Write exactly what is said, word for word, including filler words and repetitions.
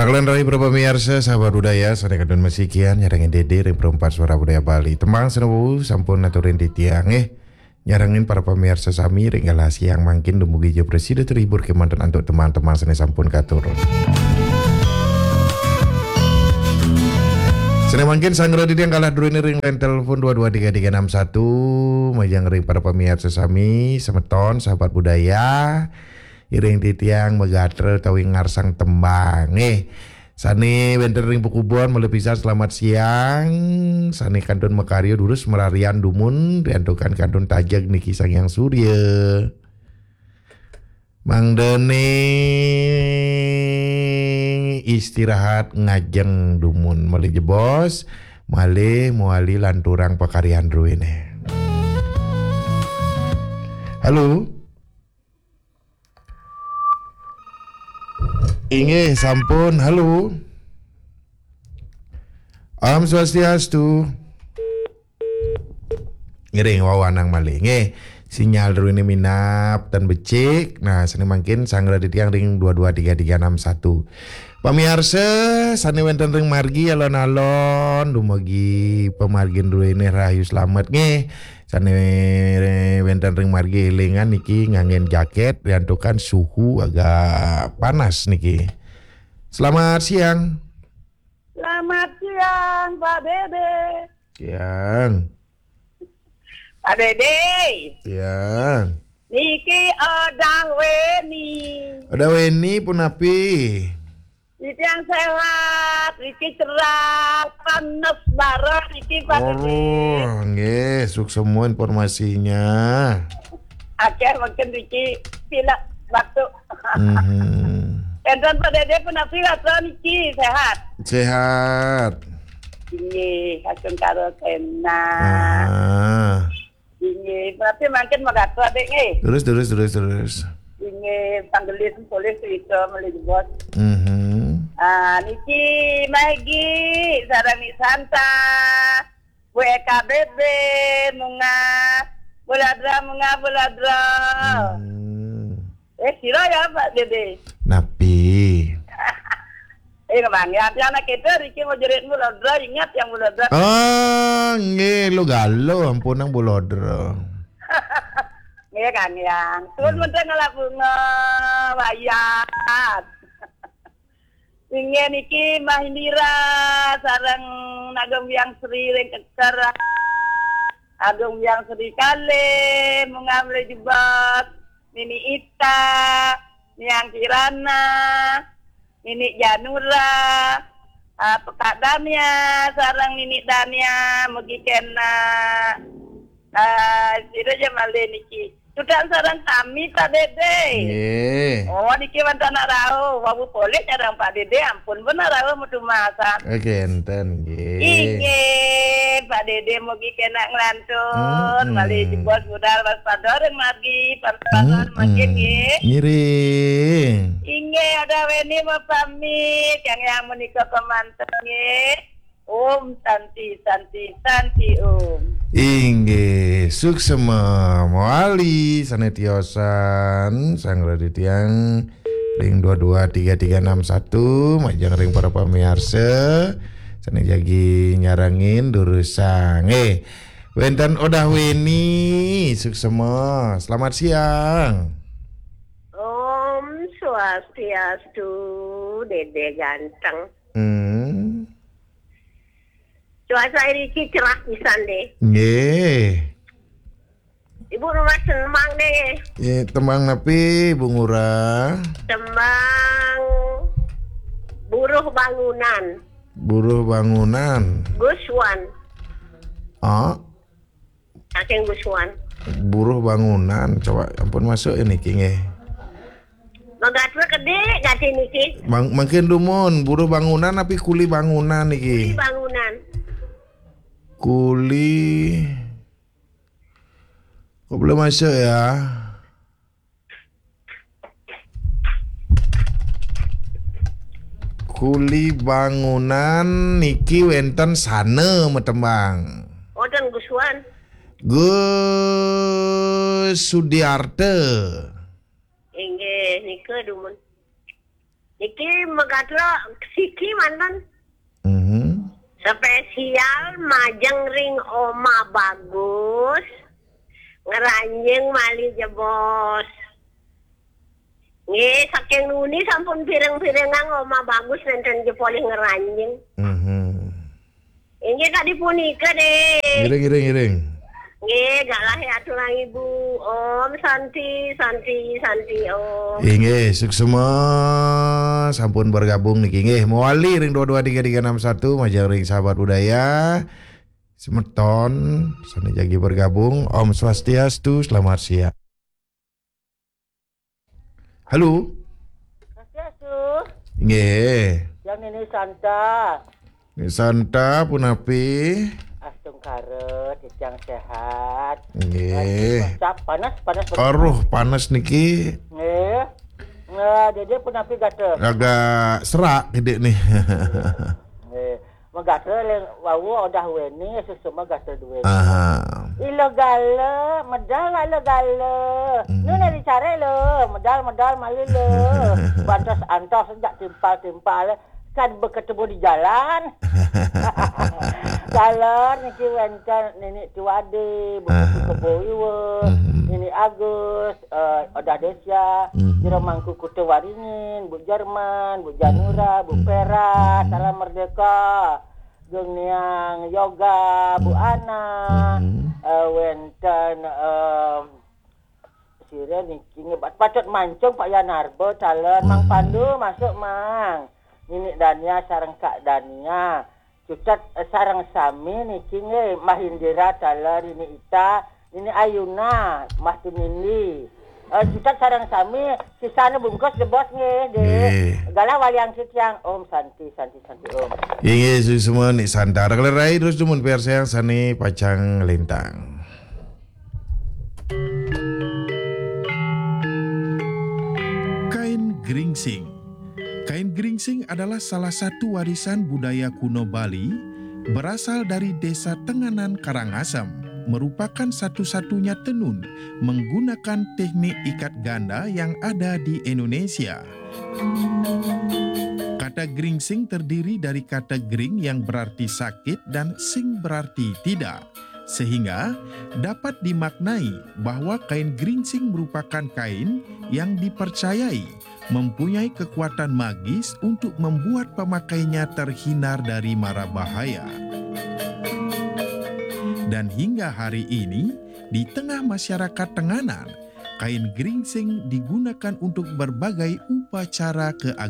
Kalian raih para pamiarsa, sahabat budaya, sané kantun masikian nyarengin Dédé ring Perempat Suara Budaya Bali. Tembang sané wau sampun aturin titiang, eh. Nyarengin para pamiarsa sami ring galah siang mangkin dumugi ja prasida terhibur kémanten antuk tembang-tembang sané sampun katur. Sané mangkin sanggra titiang galah druéné ring line telepon dua dua tiga tiga enam satu, majeng ring para pamiarsa sami, semeton, sahabat budaya. Iring titiang magatra utawi ngarsang tembang. Nggih. Sané wénten ring pakubon, malih pisan selamat siang. Sané kantun makarya durus mararian dumun, riantukan kantun tajeg niki Sang Hyang Surya. Mangdané istirahat ngajeng dumun, malih jebos, malih mawali lanturang pakaryan druéné. Halo. Inggih, sampun. Halo. Om Swastiastu. Ngiring wawanang malih. Nggih, sinyal druéné minab tan becik. Nah, sané mangkin sanggra titiang ring dua dua tiga tiga enam satu. Pamiarsa sané wénten ring margi alon-alon, dumugi pamargin druéné rahayu slamet nggih. Sané wénten ring margi élingan niki nganggén jakét, riantukan suhu agak panas niki. Selamat siang. Selamat siang, Pak Dédé. Siang. Pak Dédé. Siang. Niki Odah Wéni. Odah Wéni punapi? Niki yang sehat, niki cerah, panas bareng niki, Pak Dédé. Oh, nggih, suksema informasinya. Akéh mangkin niki pilek batuk. Mhm. Énten Pak Dédé punapi gatra niki, sehat? Sehat. Inggih, kacung karo sénah. Ah. Inggih, berarti mangkin magatra, Dék, nggih. Terus, terus, terus, terus. Inggih, panggelis polih cerita malih jebos. Mhm. Ah, niki Magi sareng Ni Santa. Bu E K B B, Munga, Bu Ladra, Munga, Bu Ladra. Hmm. Eh, sira ya, Pak Dédé? Napi? Eh, Bang, ya, anak kita, Riki mau jerit Bu Ladra, ingat yang Bu Ladra. Oh, nggih, lu galuh, ampun nang Bu Ladra. Nggih, Kang Yang. Tuh, hmm, menteng ngalap bunga, wayat. Inggih niki Mbah Indira sareng Nagem Hyang Sri ring Keker. Agung Hyang Sri kalih, Munga malih jebos, Nini Ita, Niang Kirana, Nini Janura, ah, Pekak Dania, sareng Nini Dania, mugi kena. Ah, sira ja malih niki. Sudan sareng sami, Pak Dédé. Nggih. Oh, niki wénten anak rauh. Wau polih sareng Pak Dédé, ampun pun anak rauh metu masak. Oke, énten, nggih. Inggih, Pak Dédé mugi kena ngelantur. Mm-mm. Malih jebos budal waspada ring margi, pas-pasan, mm-mm, mangkin, nggih. Ngiring. Inggih, Odah Wéni mau pamit, yang, yang menika kemanten, nggih. Om Santi, Santi, Santi Om. Inggih, suksema mawali sané tiosan, sanggra titiang ring dua dua tiga tiga enam satu, majeng ring para pamiarsa sané jagi nyarengin durusang. Eh, wénten Odah Wéni, suksema. Selamat siang. Om Swastiastu, Dédé ganteng. Hmm. Cuaca iriki cerah pisan deh. Nggih. Ibu rumah senembang deh. Nggih, tembang napi, Bu Ngurah? Tembang Buruh Bangunan. Buruh Bangunan. Guswan. Ah. Saking Guswan. Buruh Bangunan, coba ampun masuk ini nggih. Magatra kedé ganti niki. Mang-, mangkin dumun, buruh bangunan tapi kuli bangunan niki? Kuli bangunan. Kuli. Kok belum masuk ya? Kuli bangunan niki wénten sana matembang. Wénten Guswan. Gus Sudiarte. Inggih, nika dumun. Niki magatra siki manten. Mhm. Spesial majeng ring Oma Bagus, ngranjing malih jebos. Nggih, saking nuni sampun pireng-pirengang Oma Bagus nenten ja polih ngranjing. Mhm. Inggih kadi punika, Dé. Ngiring, ngiring, ngiring. Nggih, galah aturang Ibu. Om Santi, Santi, Santi Om. Inggih, suksma sampun bergabung niki. Nggih, mawali ring dua dua tiga tiga enam satu, majeng ring sahabat budaya. Semeton, sane jagi bergabung. Om Swastiastu, selamat siang. Halo. Swastiastu. Nggih. Yang Nini Santa. Nini Santa, punapi? Astungkara, titiang sehat. Nggih. Aduh, panas, panas, panas. Aruh, panas niki. Nggih. Nah, Dede punapi gatra? Agak serak gede nih. Nggih. Magatra leng wau odah weni, susu magatra duweni. Aha. Ila gala, medal ila gala. Hmm. Nu nari care lo, medal, medal malu lo. Bantos antos sejak timpal-timpal. Kan berketemu di jalan. Jalan niki wenten Nini Tiwade, Bu Aha. Kebo Iwa, Hmm. Nini Agus, eh, Odah Desya, Hmm. Jero Mangku Kuta Waringin, Bu Jerman, Bu Janura, Hmm. Bu Hmm. Pera, Hmm. Salam Merdeka, Gung Niang Yoga, Bu Hmm. Ana, Hmm. eh, wenten, eh, sira niki ngebat patut mancung Pak Yanarba, taler Mang Hmm. Pandu, masuk, Mang. Nini Dania sareng Kak Dania. Cutet, eh, sareng sami niki nggih, Mbah Indira taler, Nini Ita, Nini Ayuna, Mbah Tumindi. Eh, cutet sareng sami, sisane bungkus jebos nggih, Dik. Nggih. Galah waliang titiang. Om Santi, Santi, Santi, Om. Inggih, suksma Nik Santa. Kalerai terus dumun piarsayang sane pacang lintang. Kain geringsing. Kain geringsing adalah salah satu warisan budaya kuno Bali, berasal dari Desa Tenganan, Karangasem, merupakan satu-satunya tenun menggunakan teknik ikat ganda yang ada di Indonesia. Kata geringsing terdiri dari kata gering yang berarti sakit dan sing berarti tidak. Sehingga dapat dimaknai bahwa kain geringsing merupakan kain yang dipercayai mempunyai kekuatan magis untuk membuat pemakainya terhindar dari mara bahaya. Dan hingga hari ini, di tengah masyarakat Tenganan, kain geringsing digunakan untuk berbagai upacara keagamaan.